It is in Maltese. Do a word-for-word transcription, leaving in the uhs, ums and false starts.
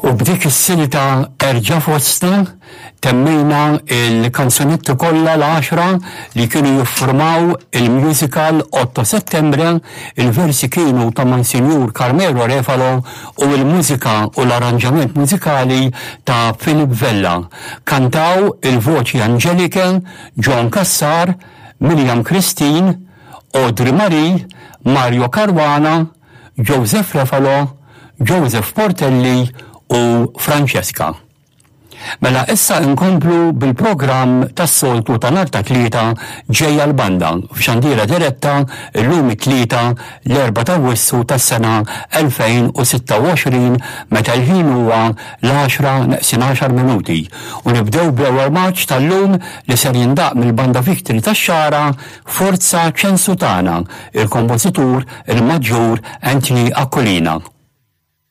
U b'dik is-silta "Erġa' Fostna" temmejna il-kanzunetti kollha l-għaxra li kienu jiffurmaw il-musical Otto Settembre. Il-versi kienu ta' Monsinjur Carmelo Refalo u il-mużika u l-arranġament mużikali ta' Philip Vella. Kantaw il-voċi Angelike, John Cassar, Miriam Christine, Audrey Marie, Mario Caruana, Joseph Refalo, Joseph Portelli u Francesca. Mela issa nkomplu bil-programm tas-soltu ta' nhar ta' Tlieta, Ġejja l-Banda, f'xandira diretta, illum it-Tlieta, l-erbgħa ta' Awwissu tas-sena elfejn u sitta u għoxrin, meta l-ħin huwa l-għaxra neqsin għaxar minuti. U nibdew bl-ewwel marċ tal-lum li ser jindaq mill-Banda Victory tax-Xagħra, "Forza Ċensu Tagħna", il-kompożitur il-Maġġur Anthony Aquilina.